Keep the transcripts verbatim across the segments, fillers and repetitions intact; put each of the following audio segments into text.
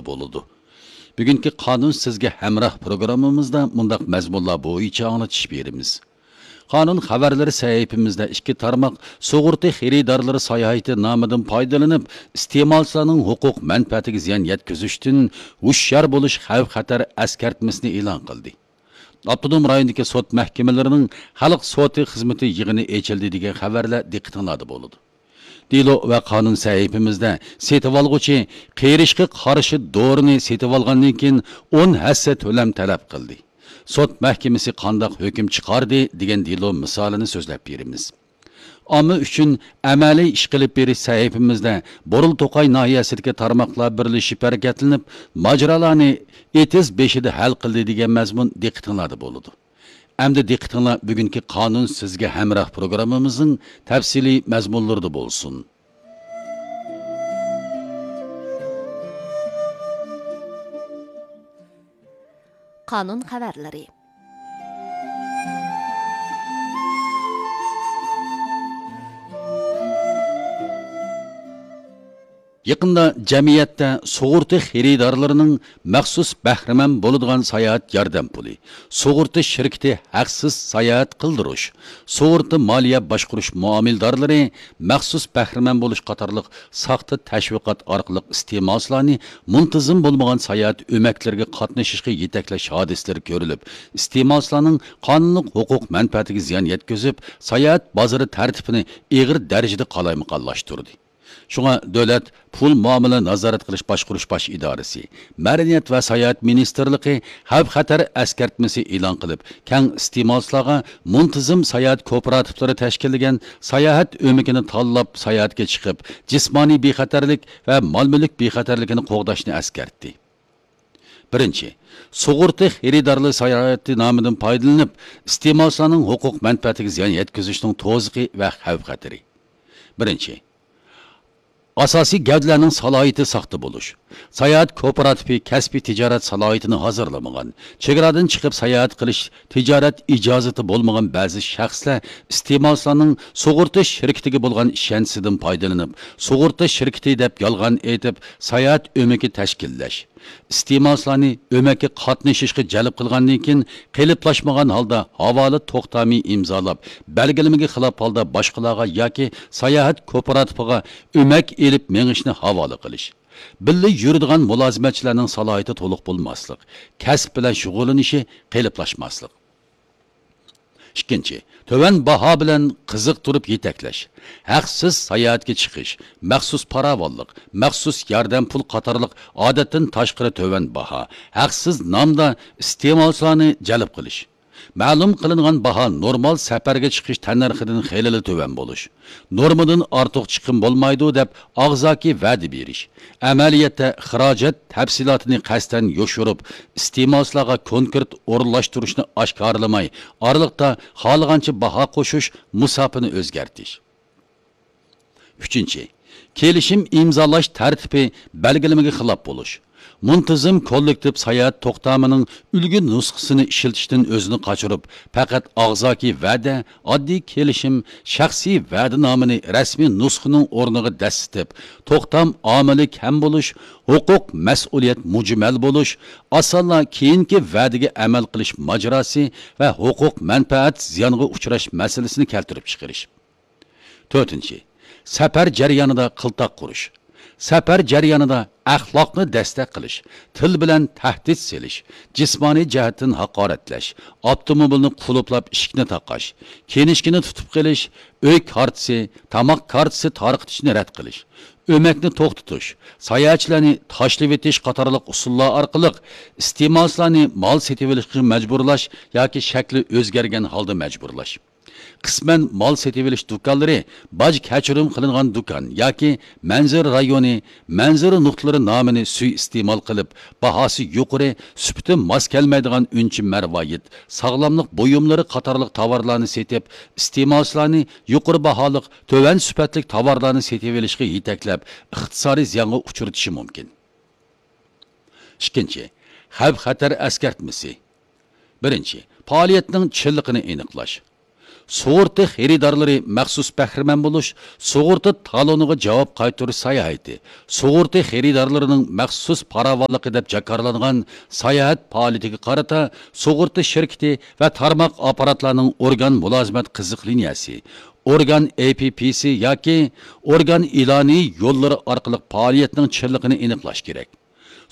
بولىدۇ. بۈگۈنكى قانۇن سىزگە ھەمراھ پروگراممىمىزدا مۇنداق مەزمۇنلار بويىچە ئاڭلىتىش بېرىمىز. قانۇن خەۋەرلىرى سەھىپىمىزدە ئىككى تارماق سۇغۇرتا خېرىدارلىرى ساياھىتى نامىدىن پايدىلىنىپ، ئىستېمالچىلارنىڭ ھوقۇق مەنپەئەتىگە زىيان يەتكۈزۈشتىن ھوشيار بولۇش خەۋپ-خەتەر ئەسكەرتمىسىنى ئېلان قىلدى. ئاپتونوم رايوندىكى سوت مەھكىمىلىرىنىڭ خەلق سوتى خىزمىتى يىغىنى ئېچىلدى دېگەن خەۋەرلەر دىققىتىڭلاردا بولىدۇ. دېلو ۋە قانۇن سەھىپىمىزدە سېتىۋالغۇچى قېرىشقا قارشى دورىنى سېتىۋالغاندىن كېيىن ئون ھەسسە تۆلەم تەلەپ قىلدى. سوت مەھكىمىسى قانداق ھۆكۈم چىقاردى دېگەن دېلو مىسالىنى سۆزلەپ بېرىمىز. ئامما ئۈچۈن ئەمەلىي ئىش قىلىپ بېرىش سەھىپىمىزدە بۇرۇل توقاي ناھىيەسىدىكى تارماقلار بىرلىشىپ ھەرىكەتلىنىپ، ماجىرالارنى ئېتىز بېشىدا ھەل قىلدى دېگەن مەزمۇن دىققىتىڭلاردا بولىدۇ. ئەمدى دىققىتىڭلار بۈگۈنكى قانۇن سىزگە ھەمراھ پروگراممىمىزنىڭ تەپسىلىي مەزمۇنلىرىدا بولسۇن. قانۇن خەۋەرلىرى. يېقىندا جەمئىيەتتە سۇغۇرتا خېرىدارلىرىنىڭ مەخسۇس بەھرىمەن بولىدىغان ساياھەت ياردەم پۇلى، سۇغۇرتا شىركىتى ھەقسىز ساياھەت قىلدۇرۇش، سۇغۇرتا مالىيە باشقۇرۇش مۇئامىلىدارلىرى مەخسۇس بەھرىمەن بولۇش قاتارلىق ساختا تەشۋىقات ئارقىلىق ئىستېمالچىلارنى مۇنتىزىم بولمىغان ساياھەت ئۆمەكلىرىگە قاتنىشىشقا يېتەكلەش ھادىسىلىرى كۆرۈلۈپ، ئىستېمالچىلارنىڭ قانۇنلۇق ھوقۇق مەنپەئەتىگە زىيان يەتكۈزۈپ، ساياھەت بازىرى تەرتىپىنى ئېغىر دەرىجىدە قالايمىقانلاشتۇردى. شۇڭا دۆلەت پۇل مۇئامىلە نازارەت قىلىش باشقۇرۇش باش ئىدارىسى، مەدەنىيەت ۋە ساياھەت مىنىستىرلىقى خەۋپ-خەتەر ئەسكەرتمىسى ئېلان قىلىپ، كەڭ ئىستېمالچىلارغا مۇنتىزىم ساياھەت كوپىراتىپلىرى تەشكىللىگەن ساياھەت ئۆمىكىنى تاللاپ ساياھەتكە چىقىپ، جىسمانىي بىخەتەرلىك ۋە مال-مۈلۈك بىخەتەرلىكىنى قوغداشنى ئەسكەرتتى. بىرىنچى، سۇغۇرتا خېرىدارلىرى ساياھىتى نامىدىن پايدىلىنىپ، ئىستېمالچىلارنىڭ ھوقۇق مەنپەئەتىگە زىيان يەتكۈزۈشنىڭ توزىقى ۋە خەۋپ-خەتىرى. بىرىنچى، ئاساسىي گەۋدىلەرنىڭ سالاھىيىتى ساختا بولۇش. ساياھەت كوپىراتىپى كەسپىي تىجارەت سالاھىيىتىنى ھازىرلىمىغان، چېگرادىن چىقىپ ساياھەت قىلىش تىجارەت ئىجازىتى بولمىغان بەزى شەخسلەر ئىستېمالچىلارنىڭ سۇغۇرتا شىركىتىگە بولغان ئىشەنچىسىدىن پايدىلىنىپ، سۇغۇرتا شىركىتى دەپ يالغان ئېيتىپ، ساياھەت ئۆمىكى تەشكىللەش، ئىستېمالچىلارنى ئۆمەككە قاتنىشىشقا جەلپ قىلغاندىن كېيىن، قېلىپلاشمىغان ھالدا ھاۋالە توختامى ئىمزالاپ، بەلگىلىمىگە خىلاپ ھالدا باشقىلارغا ياكى ساياھەت كوپىراتىپىغا ئۆمەك ئېلىپ مېڭىشنى ھاۋالە قىلىش، بىللە يۈرىدىغان مۇلازىمەتچىلەرنىڭ سالاھىيىتى تولۇق بولماسلىق، كەسىپ بىلەن شۇغۇللىنىشى قېلىپلاشماسلىق. ئىككىنچى، تۆۋەن باھا بىلەن قىزىقتۇرۇپ يېتەكلەش، ھەقسىز ساياھەتكە چىقىش، مەخسۇس پاراۋانلىق، مەخسۇس ياردەم پۇل قاتارلىق ئادەتتىن تاشقىرى تۆۋەن باھا، ھەقسىز نامدا ئىستېمالچىلارنى جەلپ قىلىش. مەلۇم قىلىنغان باھا نورمال سەپەرگە چىقىش تەننەرخىدىن خېلىلا تۆۋەن بولۇش، نورمىدىن ئارتۇق چىقىم بولمايدۇ دەپ ئاغزاكى ۋەدە بېرىش، ئەمەلىيەتتە خىراجەت تەپسىلاتىنى قەستەن يوشۇرۇپ، ئىستېمالچىلارغا كونكرېت ئورۇنلاشتۇرۇشنى ئاشكارىلىماي، ئارىلىقتا خالىغانچە باھا قوشۇش، مۇساپىنى ئۆزگەرتىش. ئۈچىنچى، كېلىشىم ئىمزالاش تەرتىپى بەلگىلىمىگە خىلاپ بولۇش. مۇنتىزىم كوللېكتىپ ساياھەت توختامىنىڭ ئۈلگە نۇسخىسىنى ئىشلىتىشتىن ئۆزىنى قاچۇرۇپ، پەقەت ئاغزاكى ۋەدە، ئاددىي كېلىشىم، شەخسىي ۋەدىنامىنى رەسمىي نۇسخىنىڭ ئورنىغا دەسسىتىپ، توختام ئامىلى كەم بولۇش، ھوقۇق مەسئۇلىيەت مۇجمەل بولۇش، ئاسانلا كېيىنكى ۋەدىگە ئەمەل قىلىش ماجىراسى ۋە ھوقۇق مەنپەئەت زىيانغا ئۇچراش مەسىلىسىنى كەلتۈرۈپ چىقىرىش. تۆتىنچى، سەپەر جەريانىدا قىلتاق قۇرۇش. سەپەر جەريانىدا ئەخلاقنى دەستەك قىلىش، تىل بىلەن تەھدىت سېلىش، جىسمانىي جەھەتتىن ھاقارەتلەش، ئاپتوموبىلنى قۇلۇپلاپ ئىشىكنى تاقاش، كىنىشكىنى تۇتۇپ قېلىش، ئۆي كارتىسى، تاماق كارتىسى تارقىتىشنى رەت قىلىش، ئۆمەكنى توختىتىش، ساياھەتچىلەرنى تاشلىۋېتىش قاتارلىق ئۇسۇللار ئارقىلىق ئىستېمالچىلارنى مال سېتىۋېلىشقا مەجبۇرلاش ياكى شەكلى ئۆزگەرگەن ھالدا مەجبۇرلاش. قىسمەن مال سېتىۋېلىش دۇكانلىرى باج كەچۈرۈم قىلىنغان دۇكان ياكى مەنزىرە رايونى، مەنزىرە نۇقتىلىرى نامىنى سۇيىئىستېمال قىلىپ، باھاسى يۇقىرى، سۈپىتى ماس كەلمەيدىغان ئۈنچە مەرۋايىت، ساغلاملىق بۇيۇملىرى قاتارلىق تاۋارلارنى سېتىپ، ئىستېمالچىلارنى يۇقىرى باھالىق، تۆۋەن سۈپەتلىك تاۋارلارنى سېتىۋېلىشقا يېتەكلەپ، ئىقتىسادىي زىيانغا ئۇچرىتىشى مۇمكىن. ئىككىنچى، خەۋپ-خەتەر ئەسكەرتمىسى. بىرىنچى، پائالىيەتنىڭ چىنلىقىنى ئېنىقلاش. سۇغۇرتا خېرىدارلىرى مەخسۇس بەھرىمەن بولۇش، سۇغۇرتا تالونىغا جاۋاب قايتۇرۇش ساياھىتى، سۇغۇرتا خېرىدارلىرىنىڭ مەخسۇس پاراۋانلىقى دەپ جاكارلانغان ساياھەت پائالىيىتىگە قارىتا سۇغۇرتا شىركىتى ۋە تارماق ئاپپاراتلارنىڭ ئورگان مۇلازىمەت قىزىق لىنىيەسى، ئورگان ئېي پى پى سى ياكى ئورگان ئېلانى يوللىرى ئارقىلىق پائالىيەتنىڭ چىنلىقىنى ئېنىقلاش كېرەك.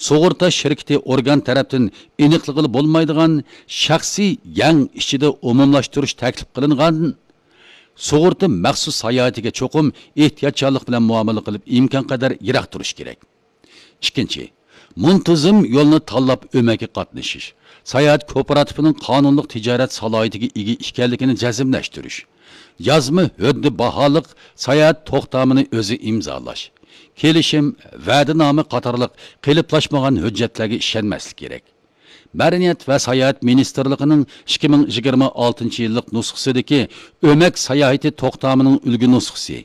سۇغۇرتا شىركىتى ئورگان تەرەپتىن ئېنىقلىغىلى بولمايدىغان شەخسىي يەڭ ئىچىدە ئومۇملاشتۇرۇش تەكلىپ قىلىنغان سۇغۇرتا مەخسۇس ساياھىتىگە چوقۇم ئېھتىياتچانلىق بىلەن مۇئامىلە قىلىپ، ئىمكانقەدەر يىراق تۇرۇش كېرەك. ئىككىنچى، مۇنتىزىم يولنى تاللاپ ئۆمەككە قاتنىشىش، ساياھەت كوپىراتىپىنىڭ قانۇنلۇق تىجارەت سالاھىيىتىگە ئىگە ئىكەنلىكىنى جەزملەشتۈرۈش، يازما ھۆددە باھالىق ساياھەت توختامىنى ئۆزى ئىمزالاش، كېلىشىم، ۋەدىنامە قاتارلىق قېلىپلاشمىغان ھۆججەتلەرگە ئىشەنمەسلىك كېرەك. مەدەنىيەت ۋە ساياھەت مىنىستىرلىقىنىڭ ئىككى مىڭ يىگىرمە ئالتىنچى يىللىق نۇسخىسىدىكى ئۆمەك ساياھىتى توختامىنىڭ ئۈلگە نۇسخىسى،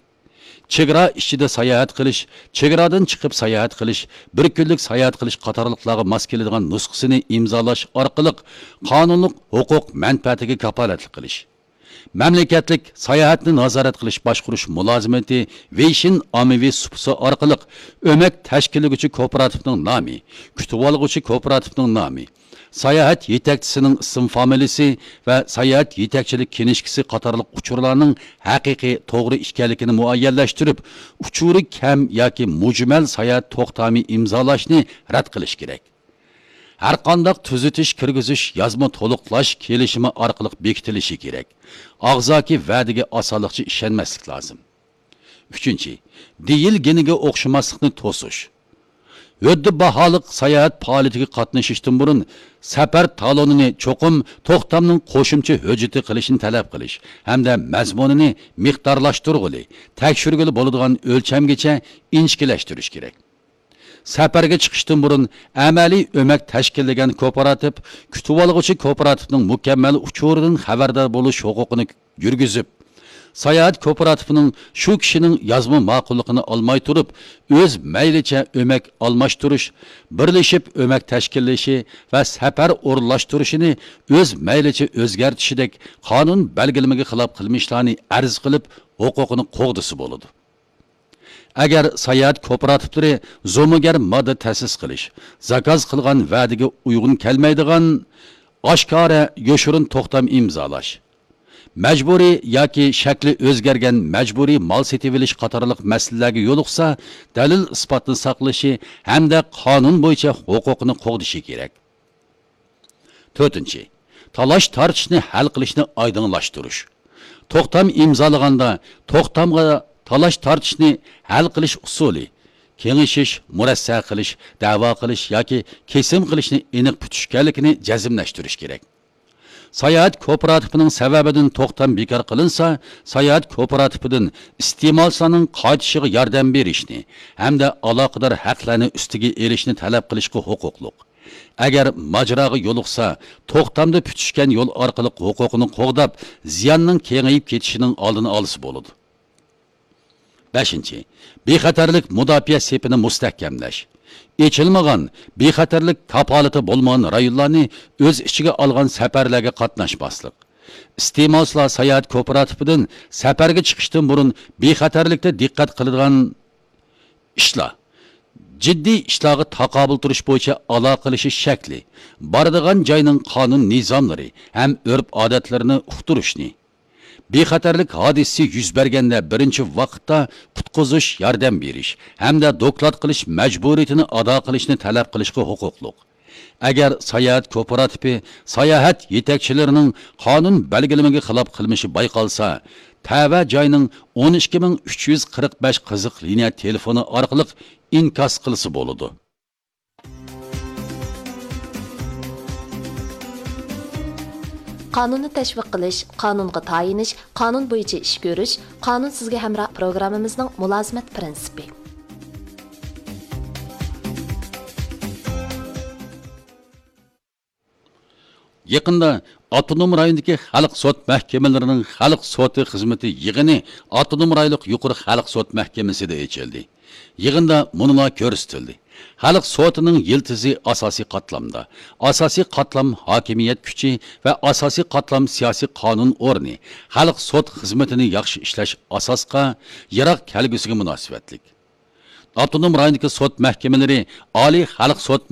چېگرا ئىچىدە ساياھەت قىلىش، چېگرادىن چىقىپ ساياھەت قىلىش، بىر كۈنلۈك ساياھەت قىلىش قاتارلىقلارغا ماس كېلىدىغان نۇسخىسىنى ئىمزالاش ئارقىلىق قانۇنلۇق ھوقۇق مەنپەئەتىگە كاپالەتلىك قىلىش. مەملىكەتلىك ساياھەتنى نازارەت قىلىش باشقۇرۇش مۇلازىمىتى ۋېيشىن ئاممىۋى سۇپىسى ئارقىلىق ئۆمەك تەشكىللىگۈچى كوپىراتىپنىڭ نامى، كۈتۈۋالغۇچى كوپىراتىپنىڭ نامى، ساياھەت يېتەكچىسىنىڭ ئىسىم فامىلىسى ۋە ساياھەت يېتەكچىلىك كىنىشكىسى قاتارلىق ئۇچۇرلارنىڭ ھەقىقىي توغرا ئىكەنلىكىنى مۇئەييەنلەشتۈرۈپ، ئۇچۇرى كەم ياكى مۇجمەل ساياھەت توختامى ئىمزالاشنى رەت قىلىش كېرەك. ھەرقانداق تۈزىتىش كىرگۈزۈش يازما تولۇقلاش كېلىشىمى ئارقىلىق بېكىتىلىشى كېرەك. ئاغزاكى ۋەدىگە ئاسانلىقچە ئىشەنمەسلىك لازىم. ئۈچىنچى، دېيىلگىنىگە ئوخشىماسلىقنى توسۇش. ھۆددە باھالىق ساياھەت پائالىيىتىگە قاتنىشىشتىن بۇرۇن سەپەر تالونىنى چوقۇم توختامنىڭ قوشۇمچە ھۆججىتى قىلىشنى تەلەپ قىلىش ھەمدە مەزمۇنىنى مىقدارلاشتۇرغىلى، تەكشۈرگىلى بولىدىغان ئۆلچەمگىچە ئىنچىكىلەشتۈرۈش كېرەك. سەپەرگە چىقىشتىن بۇرۇن ئەمەلىي ئۆمەك تەشكىللىگەن كوپىراتىپ كۈتۈۋالغۇچى كوپىراتىپنىڭ مۇكەممەل ئۇچۇرىدىن خەۋەردار بولۇش ھوقۇقىنى يۈرگۈزۈپ، ساياھەت كوپىراتىپىنىڭ شۇ كىشىنىڭ يازما ماقۇللۇقىنى ئالماي تۇرۇپ، ئۆز مەيلىچە ئۆمەك ئالماشتۇرۇش، بىرلىشىپ ئۆمەك تەشكىللىشى ۋە سەپەر ئورۇنلاشتۇرۇشىنى ئۆز مەيلىچە ئۆزگەرتىشىدەك قانۇن بەلگىلىمىگە خىلاپ قىلمىشلارنى ئەرز قىلىپ، ھوقۇقىنى قوغدىسا بولىدۇ. ئەگەر ساياھەت كوپىراتىپلىرى زومىگەر ماددا تەسىس قىلىش، زاكاز قىلغان ۋەدىگە ئۇيغۇن كەلمەيدىغان ئاشكارا يوشۇرۇن توختام ئىمزالاش، مەجبۇرىي ياكى شەكلى ئۆزگەرگەن مەجبۇرىي مال سېتىۋېلىش قاتارلىق مەسىلىلەرگە يولۇقسا، دەلىل-ئىسپاتنى ساقلىشى ھەمدە قانۇن بويىچە ھوقۇقىنى قوغدىشى كېرەك. تۆتىنچى، تالاش-تارتىشنى ھەل قىلىشنى ئايدىڭلاشتۇرۇش. توختام ئىمزالىغاندا توختامغا تالاش-تارتىشنى ھەل قىلىش ئۇسۇلى، كېڭىشىش، مۇرەسسە قىلىش، دەۋا قىلىش ياكى كېسىم قىلىشنى ئېنىق پۈتۈشكەنلىكىنى جەزملەشتۈرۈش كېرەك. ساياھەت كوپىراتىپىنىڭ سەۋەبىدىن توختام بىكار قىلىنسا، ساياھەت كوپىراتىپىدىن ئىستېمالچىلارنىڭ قايتىشىغا ياردەم بېرىشنى ھەمدە ئالاقىدار ھەقلەرنى ئۈستىگە ئېلىشنى تەلەپ قىلىشقا ھوقۇقلۇق. ئەگەر ماجىراغا يولۇقسا، توختامدا پۈتۈشكەن يول ئارقىلىق ھوقۇقىنى قوغداپ، زىياننىڭ كېڭىيىپ كېتىشىنىڭ ئالدىنى ئالسا بولىدۇ. بەشىنچى، بىخەتەرلىك مۇداپىئە سېپىنى مۇستەھكەملەش. ئېچىلمىغان، بىخەتەرلىك كاپالىتى بولمىغان رايونلارنى ئۆز ئىچىگە ئالغان سەپەرلەرگە قاتناشماسلىق. ئىستېمالچىلار ساياھەت كوپىراتىپىدىن سەپەرگە چىقىشتىن بۇرۇن بىخەتەرلىكتە دىققەت قىلىدىغان ئىشلار، جىددىي ئىشلارغا تاقابىل تۇرۇش بويىچە ئالاقىلىشىش شەكلى، بارىدىغان جاينىڭ قانۇن نىزاملىرى ھەم ئۆرپ ئادەتلىرىنى ئۇقتۇرۇشنى، بىخەتەرلىك ھادىسىسى يۈز بەرگەندە بىرىنچى ۋاقىتتا قۇتقۇزۇش، ياردەم بېرىش ھەمدە دوكلات قىلىش مەجبۇرىيىتىنى ئادا قىلىشنى تەلەپ قىلىشقا ھوقۇقلۇق. ئەگەر ساياھەت كوپىراتىپى ساياھەت يېتەكچىلىرىنىڭ قانۇن بەلگىلىمىگە خىلاپ قىلمىشى بايقالسا، تەۋە جاينىڭ ئون ئىككى مىڭ ئۈچ يۈز قىرىق بەش قىزىق لىنىيە تېلېفونى ئارقىلىق ئىنكاس قىلسا بولىدۇ. قانۇننى تەشۋىق قىلىش، قانۇنغا تايىنىش، قانۇن بويىچە ئىش كۆرۈش، قانۇن سىزگە ھەمراھ پروگراممىمىزنىڭ مۇلازىمەت پىرىنسىپى. يېقىندا ئاپتونوم رايوندىكى خەلق سوت مەھكىمىلىرىنىڭ خەلق سوتى خىزمىتى يىغىنى ئاپتونوم رايونلۇق يۇقىرى خەلق سوت مەھكىمىسىدە ئېچىلدى. يىغىندا مۇنۇلار كۆرسىتىلدى. خەلق سوتىنىڭ يىلتىزى ئاساسىي قاتلامدا. ئاساسىي قاتلام ھاكىمىيەت كۈچى ۋە ئاساسىي قاتلام سىياسىي قانۇن ئورنى خەلق سوت خىزمىتىنى ياخشى ئىشلەش ئاساسقا، يىراق كەلگۈسىگە مۇناسىۋەتلىك. ئاپتونوم رايوندىكى سوت مەھكىمىلىرى ئالىي خەلق سوت